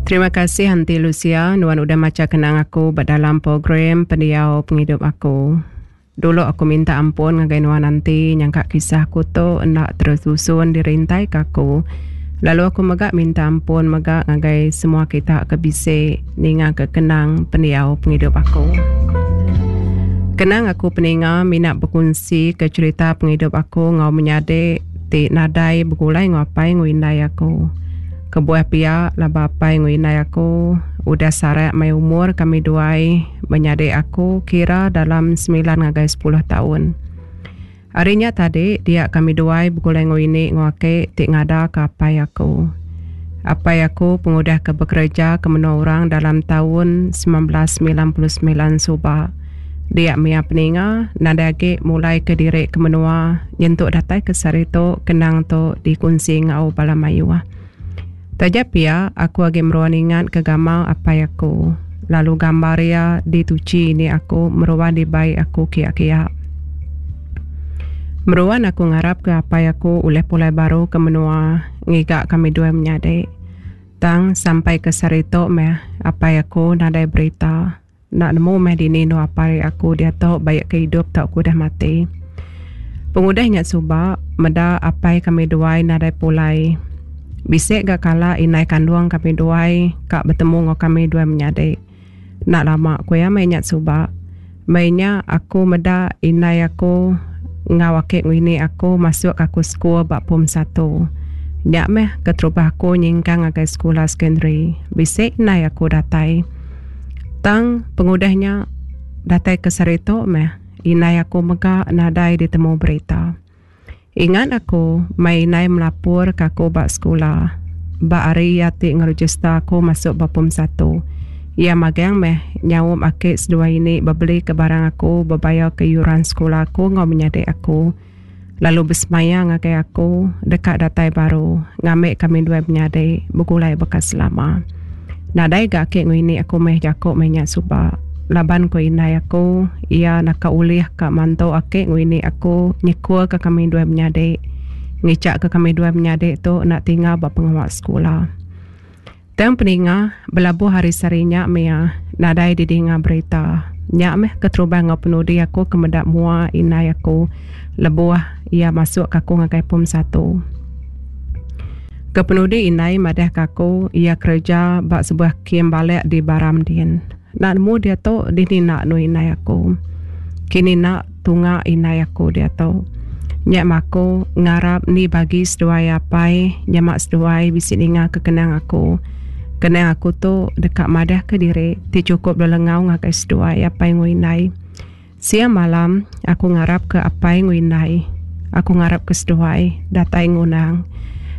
Terima kasih Aunty Lucia nuan udah macha kenang aku ba dalam program Pendiau Pengidup Aku. Dulu aku minta ampun ngagai nuan Aunty nyangka kisah aku tu enda terusun dirintai ka aku. Lalu aku mega minta ampun mega ngagai semua kita ke bisi ninga ke kenang pendiau pengidup aku. Kenang aku peninga mina bekunsi ke cherita pengidup aku enggau menyadi ti nadai begulai enggau apai enggau indai aku. Kebuah pia laban apai enggau indai aku udah sarak mai umur kami duai menyadi aku kira dalam semilan ngagai sepuluh taun. Ari nya tadi dia kami duai begulai enggau ini enggau aki ti ngadaka apai aku. Apai aku pengudah ke bekereja ke menua orang dalam taun 1999 suba. Dia mia peninga nadai agi mulaika diri ke menua nyentuk datai ke sehari tu kenang tu dikunsi enggau bala mayuh. Taja pia aku agi meruan ingat ke gamal apai aku lalu gambar iya dituchi ini aku meruan dibai aku kia-kia. Meruan aku ngarap ke apai aku ulih pulai baru ke menua ngiga kami duai menyadi. Tang sampai ke sehari tu meh apai aku nadai berita. Enda nemu meh dini endur apai aku diatu baik ke idup tauka udah mati. Pengudah nya suba, meda apai kami duai nadai pulai. Bisi ga kala indai kandung kami duai ka betemu enggau kami duai menyadi. Enda lama ku iya meh nya suba. Meh nya aku meda indai aku enggau aki ngini aku masuk aku sekul ba pom satu. Nya meh keterubah aku nyingkang ngagai sekula secondary. Bisi indai aku datai. Tang pengudah nya datai ke sehari tu meh indai aku mega nadai ditemu berita. Ingat aku mai indai melapur ke aku ba sekula ba hari iya ti ngerejista aku masuk ba pom satu. Iya magang meh nyaup aki seduai ini bebeli ke barang aku bebayar ke yuran sekula aku enggau menyadi aku lalu besemaya ngagai aku deka datai baru ngambi kami duai menyadi begulai baka selama. Nadai ga aki enggau ini aku meh jaku meh nya suba laban ku indai aku iya naka ulih ka mantu aki enggau ini aku nyekul ka kami duai menyadi ngicha ka kami duai menyadi tu enda tinggal ba pengawa sekula. Tang peninga belabuh hari sehari nya mia nadai didinga berita. Nya meh keterubah enggau penudi aku ke meda mua indai aku lebuh iya masuk ka aku ngagai pom satu. Kepenudi indai madah ka aku iya kereja ba sebuah kem balek di Baram din. Enda nemu diatu dini enda anu indai aku. Kini enda tunga indai aku diatu. Nya meh aku ngarap ni bagi seduai apai nyema seduai bisi ninga ke kenang aku. Kenang aku tu deka madah ke diri ti chukup lelengau ngagai seduai apai enggau indai. Siang malam aku ngarap ke apai enggau indai. Aku ngarap ke seduai datai ngundang.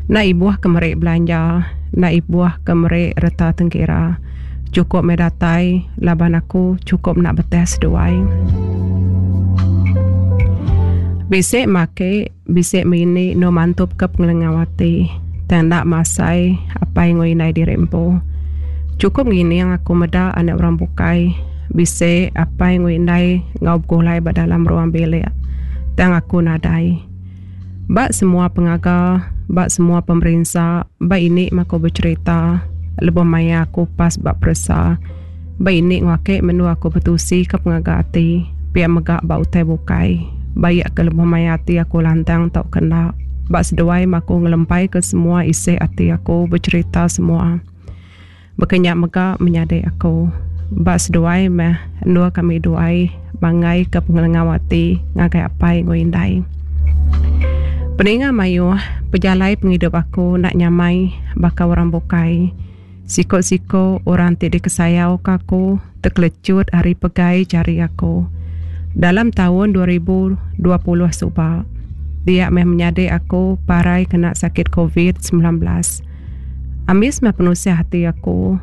Enda ibuh ke meri belanja, enda ibuh ke meri reta tengkira. Chukup meh datai laban aku chukup enda beteh seduai. Bisi make, bisi mini endur mantup ke pengelengau ati tang enda masai apai enggau indai diri empu. Chukup ngining aku meda anak orang bukai bisi apai enggau indai enggau begulai ba dalam ruang bilik tang aku nadai. Ba semua pengaga, ba semua pemerinsa, ba ini meh aku becherita lebuh maya aku pas ba peresa. Ba ini enggau ake menua aku betusi ke pengaga ati, pia mega ba utai bukai. Baik ke lebuh maya ati aku lantang tauka enda, ba seduai meh aku ngelempai ke semua isi ati aku becherita semua. Baka nya mega menyadi aku. Ba seduai meh endur kami duai manggai ke pengelengau ati ngagai apai enggau indai. Peninga mayuh pejalai pengidup aku enda nyamai baka orang bukai. Siko-siko orang ti dikesayau ka aku tekelecut ari pegai jari aku. Dalam taun 2020 suba, dia meh menyadi aku parai kena sakit covid 19. Ambis meh penusah ati aku.